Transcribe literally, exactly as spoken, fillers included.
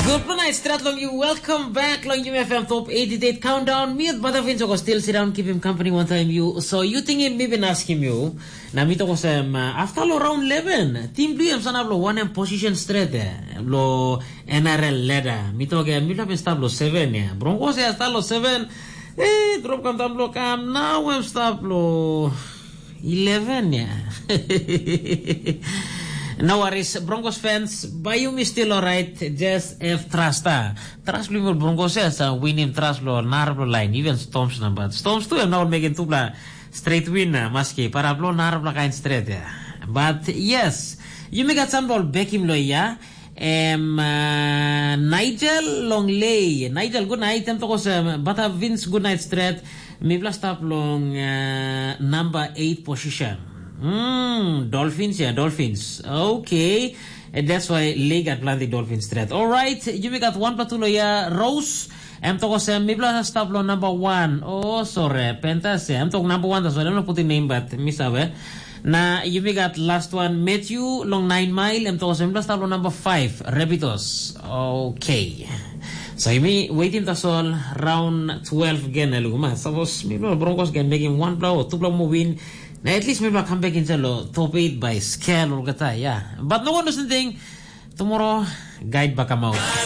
Good night, strat long you. Welcome back long you F M Top eighty-eight Countdown. Mi at Badavin Joko still sit down, keep him company one time you. So you think him maybe ask him you. Na mi toko sem, uh, after lo round eleven, team blue em sana lo one em position straight eh, lo N R L ladder. Mi toke mi lo stop lo seven ya. Broncos ya start lo seven. Eh, drop kam tam lo kam. Now em stop lo eleven ya. No worries, Broncos fans, by you me still alright. Just have trust ah. Trust lo Broncos ya sa win him trust lo narap lo line. Even Storms na but Storms tu em now making tupla straight win na maski para lo narap lo kain straight ya. But yes, you me got some ball back him lo ya. Em uh, Nigel Longley. Nigel, good night. Em tokos um, bata Vince, good night straight. Mi bla stap long uh, number eight position. Hmm, Dolphins, yeah, Dolphins. Okay. And that's why Lee got plenty Dolphins straight. All right, you got one platu lo ya, Rose. Em tokos em mi bla stap lo number one. Oh, sorry, Pentas. Em tok number one, that's why I'm not putting name, but mi sabe. Na yumi gat last one, Matthew long nine mile, em tok olsem, bla stap long number five, Rabbitohs. Okay. So yumi waiting tasol round twelve gen na luguma. Suppose mi lo Broncos gen making one blow or two blow more win. Na at least mi bla come back inside lo top eight by scale olgeta, yeah. But no one doesn't think tomorrow guide back out.